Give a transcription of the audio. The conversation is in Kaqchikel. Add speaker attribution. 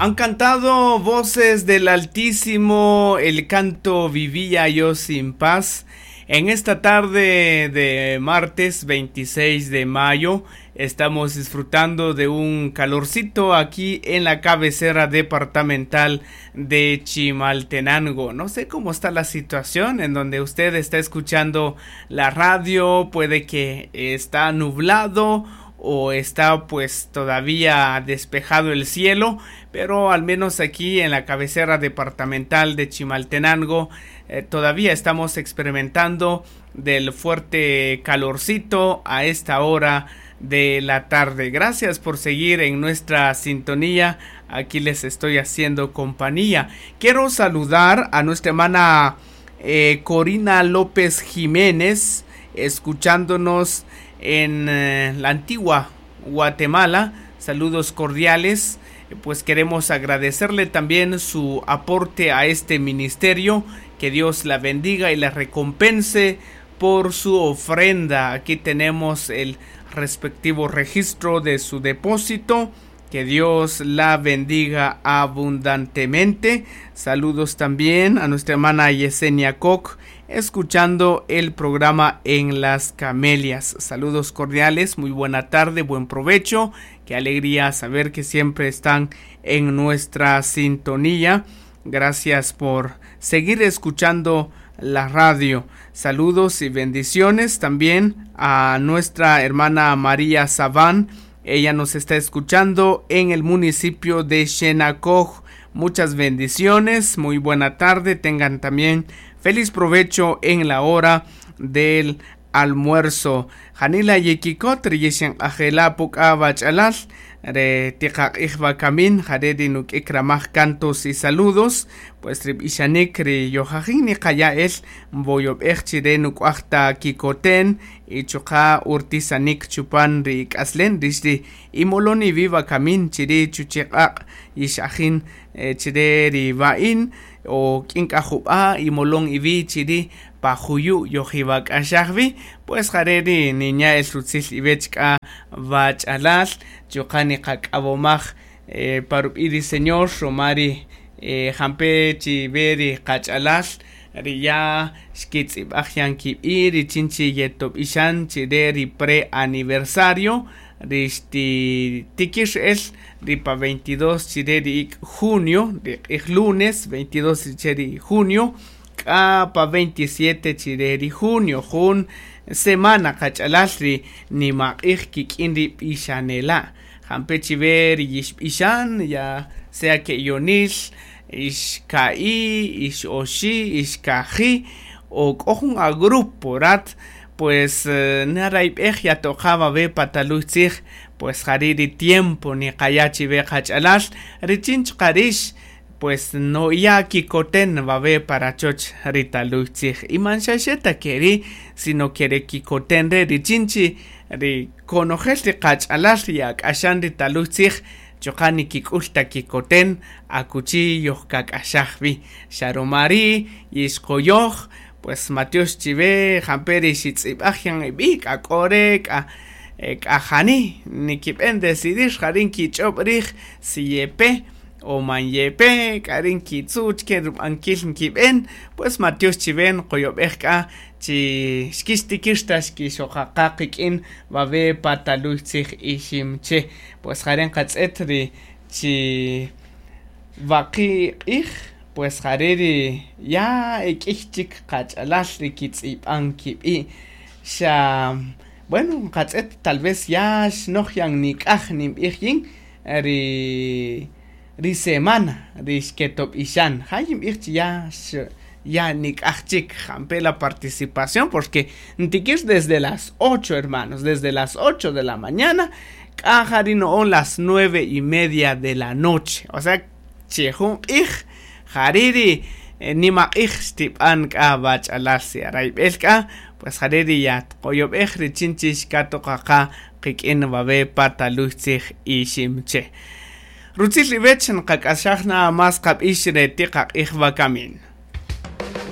Speaker 1: Han cantado voces del Altísimo el canto Vivía yo sin paz. En esta tarde de martes 26 de mayo estamos disfrutando de un calorcito aquí en la cabecera departamental de Chimaltenango. No sé cómo está la situación en donde usted está escuchando la radio, puede que está nublado o está pues todavía despejado el cielo, pero al menos aquí en la cabecera departamental de Chimaltenango todavía estamos experimentando del fuerte calorcito a esta hora de la tarde. Gracias por seguir en nuestra sintonía. Aquí les estoy haciendo compañía. Quiero saludar a nuestra hermana Corina López Jiménez, escuchándonos en la antigua Guatemala. Saludos cordiales. Pues queremos agradecerle también su aporte a este ministerio. Que Dios la bendiga y la recompense por su ofrenda. Aquí tenemos el respectivo registro de su depósito. Que Dios la bendiga abundantemente. Saludos también a nuestra hermana Yesenia Koch, escuchando el programa en Las Camelias. Saludos cordiales, muy buena tarde, buen provecho. Qué alegría saber que siempre están en nuestra sintonía. Gracias por seguir escuchando la radio. Saludos y bendiciones también a nuestra hermana María Sabán. Ella nos está escuchando en el municipio de Xenacoj. Muchas bendiciones, muy buena tarde. Tengan también feliz provecho en la hora del almuerzo. Janila yekikot riyeshen ajela puka bachalal re tiqaq'ij bakamin jare ri nuk'ik ramaj cantos y saludos, pues ri b'ixanik ri yojajin niqaya el mboyob'ej chire nuk'uaj ta kikoten y chuqa urtisanik chupan ri k'aslen rix ri imolon iwi bakamin chiri chuchiq'aq' yixajin chire ri ba'in o k'in k'ajub'a imolon iwi chiri pajuyu yojiwak'axajwi, pues jare ri niña el rutzil iwech k'a bach'alal chuqa niqak'awomaj parub'i ri señor romari jampe chi ve ri qach'alal ri ya xkitz'ib'aj yan kib'i ri chinchi yetob'ixan chire ri pre-aniversario ri xtitikir el ri pa 22 chire ri ik' junio ri q'ij lunes 22 chire ri junio k'a pa 27 chire ri junio jun semana qach'alal ri nimaq'ij kik'in ri b'ixanela jampe chive ri yixb'ixan ya sea que yonil ixka'i ixoxi ixkaji o k'o jun a grupo rat pues narayb'ej yatoqa ve pataluy tzij pues jari ri tiempo niqaya chive qach'alal richin chqarix pues no ya kikoten va ve para choch ritaluy tzij y man xaxeta keri sino kere kikoten re richinchi ri konojel ri qach'alal ri ak'axan ritaluy tzij chuqa nikik'ul ta kikoten akuchi yojkak'axaj wi xaromari yixqoyoj pues Mateus chive jamperi xitz'ib'aj yan ib'i k'ak'ore k'a k'ajani nikib'en decidir jarin kich'ob' rij si yepe o man yepe k'arin kitzuch ke rub'ankil nkib'en pues Mateus chiven qoyob'ej k'a chi xkixtikir ta xkixoqaqa qik'in babe pataluy tzij iximche pues jaren qatz'et ri chi waqi q'ij pues jare ri ya ek'ij chik qach'alal ri kitz'ib'an kib'i xa bueno qatz'et tal vez ya xnoj yan nik'aj ninb'ij yin ri semana ri xketob'ixan ja yinb'ij chi ya ya nik'aj chik jampe la participación porque ntikir desde las 8 hermanos, desde las 8 de la mañana k'a jari no'on las 9:30 de la noche, o sea che jun q'ij jari ri nimaq'ij xtib'an k'a bach'alal si arayb'el k'a pues jare ri ya tqoyob'ej ri chinchi xkatoqaqa qik'in babe pataluy tzij iximche. Rutzil iwech nqak'axaj na mas qab'ix re tiqaq'ij bakamin.